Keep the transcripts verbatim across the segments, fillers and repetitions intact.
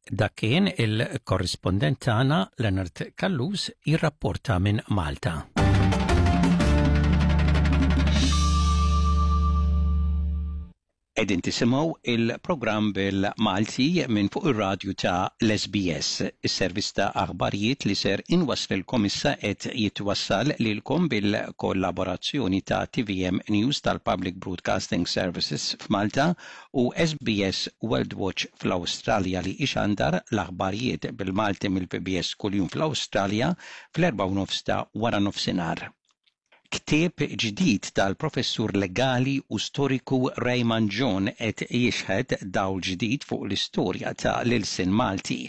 Dak kien il-korrispondent tagħna Leonard Callus jirrapporta minn Malta. Qegħdin tisimgħu il-programm bil-Malti minn fuq ir-radju ta' l-S B S. Is-servizz ta' aħbarijiet li ser inwaslilkom issa qed jitwassal lilkom bil-kollaborazzjoni ta' T V M News tal-Public Broadcasting Services f'Malta u S B S World Watch fl-Awstralja, li ixandar l-aħbarijiet bil-Malti mill-P B S kuljum fl-Awstralja fl-erba' u nofs ta' wara nofsinhar. Ktieb ġdid tal-professur legali u storiku Ray Mangion qed jixħet dawl ġdid fuq l-istorja ta' l-ilsien Malti.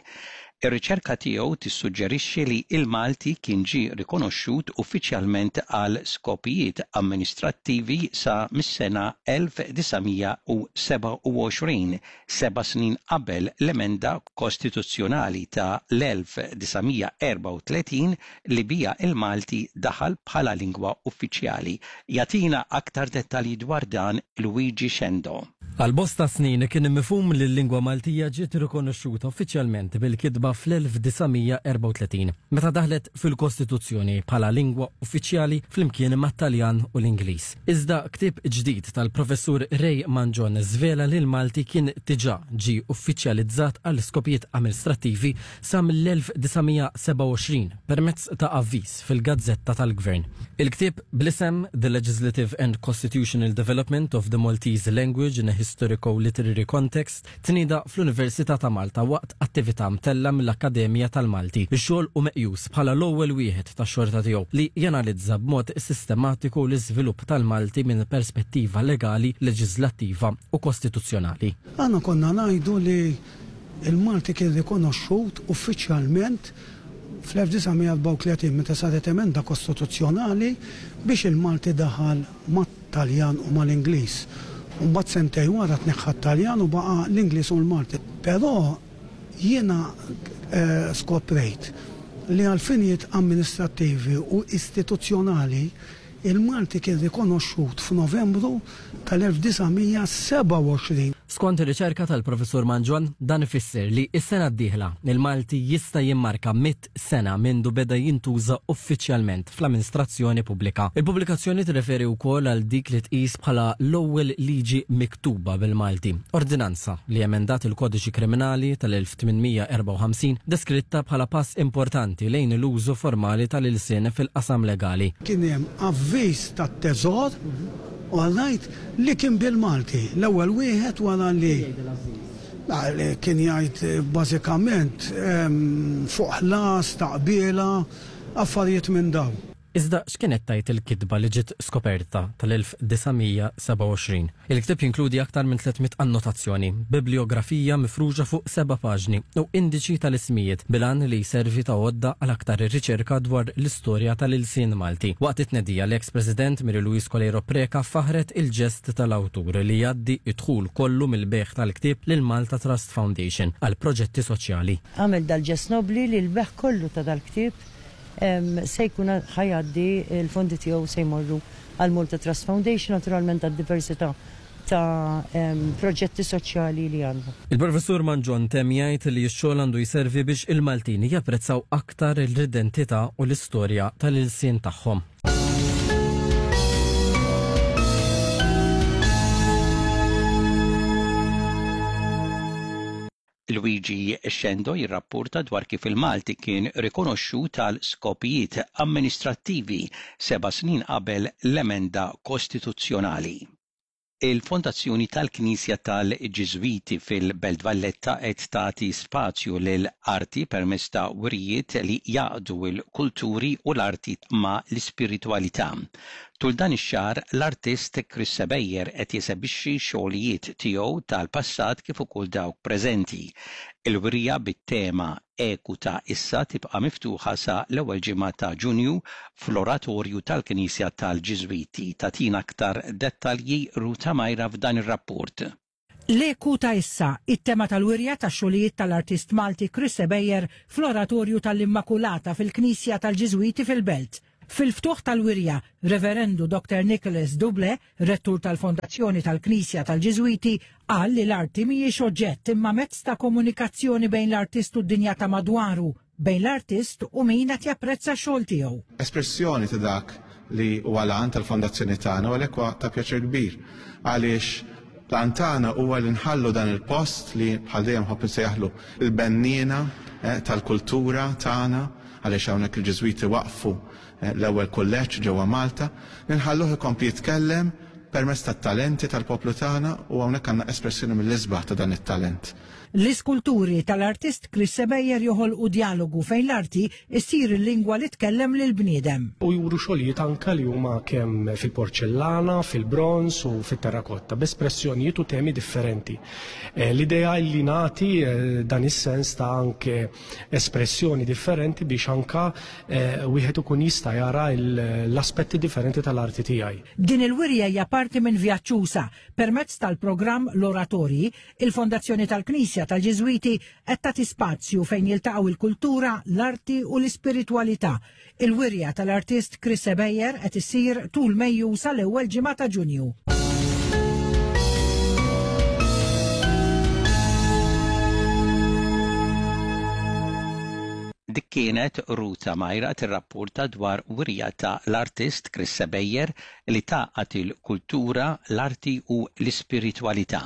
Ir-riċerka tiegħu tissuġġerixxi li il-Malti kien ġie rikonoxxut uffiċjalment għal skopijiet amministrattivi sa mis-sena elf disa' mija u sebgħa u għoxrin, seba' snin qabel l-emenda kostituzzjonali ta' l-elf disa' mija erbgħa u tletin li bija il-Malti daħal bħala lingwa uffiċjali. Jagħtina aktar dettalji dwar dan Luigi Xendo. Għal bosta snin kien mifhum li l-lingwa Maltija ġiet rikonoxxuta uffiċjalment bil-kitba fl-elf disa' mija erbgħa u tletin, meta daħlet fil-Kostituzzjoni bħala lingwa uffiċjali flimkien mat-Taljan u l-Ingliż. Iżda ktieb ġdid tal-professur Ray Mangion żvela li l-Malti kien diġà ġi uffiċjalizzat għal skopijiet amministrattivi sa mill-elf disa' mija sebgħa u għoxrin permezz ta' avviż fil-Gazzetta tal-Gvern. Il-ktieb bl-isem The Legislative and Constitutional Development of the Maltese Language in a Historico-Literary Context tnieda fl-Università ta' Malta waqt attività mtella mill-Akkademja tal-Malti. Ix-xogħol hu meqjus bħala l-ewwel wieħed tax-xorta tiegħu li janalizza b'mod sistematiku l-iżvilupp tal-Malti minn perspettiva legali, leġislattiva u kostituzzjonali. Aħna konna ngħidu li il-Malti kien rikonoxxut uffiċjalment fl-elf disa' mija erbgħa u tletin, meta saret emenda kostituzzjonali biex il-Malti daħal mat-Taljan u mal-Ingliż. Mbagħad sentejn wara tneħħa t-Taljan u baqa' l-Ingliż u l-Malti. Però jiena eh, skoprejt li għal finijiet amministrattivi u istituzzjonali il-Malti kien rikonoxxut f'Novembru tal-elf disa' mija sebgħa u għoxrin. Skont ir-riċerka tal-professur Mangion, dan ifisser li s-sena d-dieħla il-Malti jista' jimmarka mitt sena mindu beda jintuża uffiċjalment fl-amministrazzjoni pubblika. Il-pubblikazzjoni tirreferi wkoll għal dik li tqis bħala l-ewwel liġi miktuba bil-Malti, ordinanza li emendat il-Kodiċi Kriminali tal-elf tmien mija erbgħa u ħamsin, deskritta bħala pass importanti lejn l-użu formali tal-ilsien fil-qasam legali. Kien hemm avviż tat-teżor, all right, li kien bil-Malti. L-ewwel wieħed wara li li kien jgħid eh, bażikament em, fuq ħlas, taqbila, affarijiet minn dawn. Iżda x'kienet tgħid il-kitba li ġiet skoperta tal-elf disa' mija sebgħa u għoxrin? Il-ktib jinkludi aktar minn tliet mitt annotazzjoni, bibliografija mifruxa fuq seba' paġni u indiċi tal-ismijiet bil-għan li jservi ta' għodda għal aktar riċerka dwar l-istorja tal-ilsien Malti. Waqt it-tnedija, l-ex-president Mary Louise Coleiro Preca faħret il-ġest tal-awtur li jgħaddi id-dħul kollu mill-bejgħ tal-ktib lil Malta Trust Foundation għal proġetti soċjali. Għamel dal-ġest nobli li l-bejgħ kollu ta' dal-ktib em, se jkun ħa jgħaddi, il-fondi tiegħu se jmorru għal Malta Trust Foundation, naturalment għad-diversità ta' em, proġetti soċjali li għandu. Il-professur Mangion temm jgħid li x-xogħol għandu jservi biex il-Maltin japprezzaw aktar l-identità u l-istorja tal-ilsien tagħhom. Luigi Xendo jirrapporta dwar kif il-Malti kien rikonoxxut għal skopijiet amministrattivi seba' snin qabel l-emenda kostituzzjonali. Il-Fondazzjoni tal-Knisja tal-Ġiżwiti fil-Belt Valletta qed tagħti spazju lil arti permezz ta' wirijiet li jgħaqqdu l-kulturi u l-arti ma' l-ispiritwalità. Tul dan ix-xahar, l-artist Chris Sebejer qed jesebixxi xogħlijiet tiegħu tal-passat kif ukoll dawk preżenti. Il-wirja bit-tema Eku ta' Issa tibqa' miftuħa sa l-ewwel ġimgħa ta' Ġunju fl-Oratorju tal-Knisja tal-Ġiżwiti. Tagħtina aktar dettalji Ruta Majra f'dan ir-rapport. L-Eku ta' Issa, it-tema tal-wirja ta' xogħlijiet tal-artist Malti Chris Sebejer fl-Oratorju tal-Immakulata fil-Knisja tal-Ġiżwiti fil-Belt. Fil-ftuħ tal-wirja, Reverendu Doctor Nicholas Duble, rettur tal-Fondazzjoni tal-Knisja tal-Ġiżwiti, qal li l-arti mhijiex oġġett imma mezz ta' komunikazzjoni bejn l-artist u d-dinja ta' madwaru, bejn l-artist u min qed japprezza x-xogħol tiegħu. Espressjoni ta' dak li huwa l-għan tal-fondazzjoni tagħna u għalhekk huwa ta' pjaċir kbir għaliex l-għan tagħna huwa li nħallu dan il-post li bħal dejjem ħobb insejjaħlu il-benniena eh, tal-kultura tagħna, għaliex hawnhekk il-Ġiżwiti waqfu eh, l-ewwel kulleġġ ġewwa Malta, ninħalluh ikompli jitkellem permezz tat-talenti tal-poplu tagħna u hawnhekk għandna espressjoni mill-isbaħ ta' dan it-talent. L-iskulturi tal-artist Chris Sebejer joħolqu dialogu fejn l-arti issir il-lingwa li tkellem lill-bniedem. U juru xogħlijiet anke li huma kemm fil-porċellana, fil-bronz u fit-terrakotta, b'espressjonijiet u temi differenti. Eh, l-idea li nagħti eh, dan is-sens ta' anke espressjoni differenti biex anka eh, wieħed ikun jista' jara l-aspetti differenti tal-arti tiegħi. Din il-wirja hija parti minn vjaġġ usa' permezz tal-programm L-Oratorji, il-Fondazzjoni tal-Knisja tal-Ġiżwiti qed tagħti spazju fejn jiltaqgħu il-kultura, l-arti u l-ispiritwalità. Il-wirja tal-artist Chris Sebejer qed issir tul Mejju sal-ewwel ġimgħa ta' Ġunju. Dik kienet Ruta Majra tirrapporta dwar wirja ta' l-artist Chris Sebejer li tgħaqqad il-kultura, l-arti u l-ispiritwalità.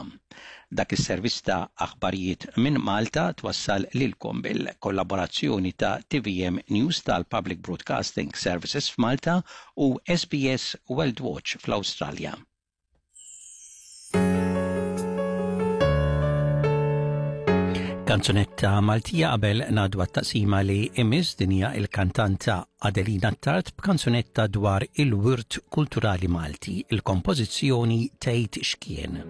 Dak is-servizz ta' aħbarijiet minn Malta twassal lilkom bil-kollaborazzjoni ta' T V M News tal-Public Broadcasting Services f'Malta u S B S World Watch fl-Awstralja. Kanzunetta Maltija qabel ngħaddu għat-taqsima li imiss. Din hija il-kantanta Adelina Tart b'kanzunetta dwar il-wirt kulturali Malti, il-kompożizzjoni Tgħid X'Kien.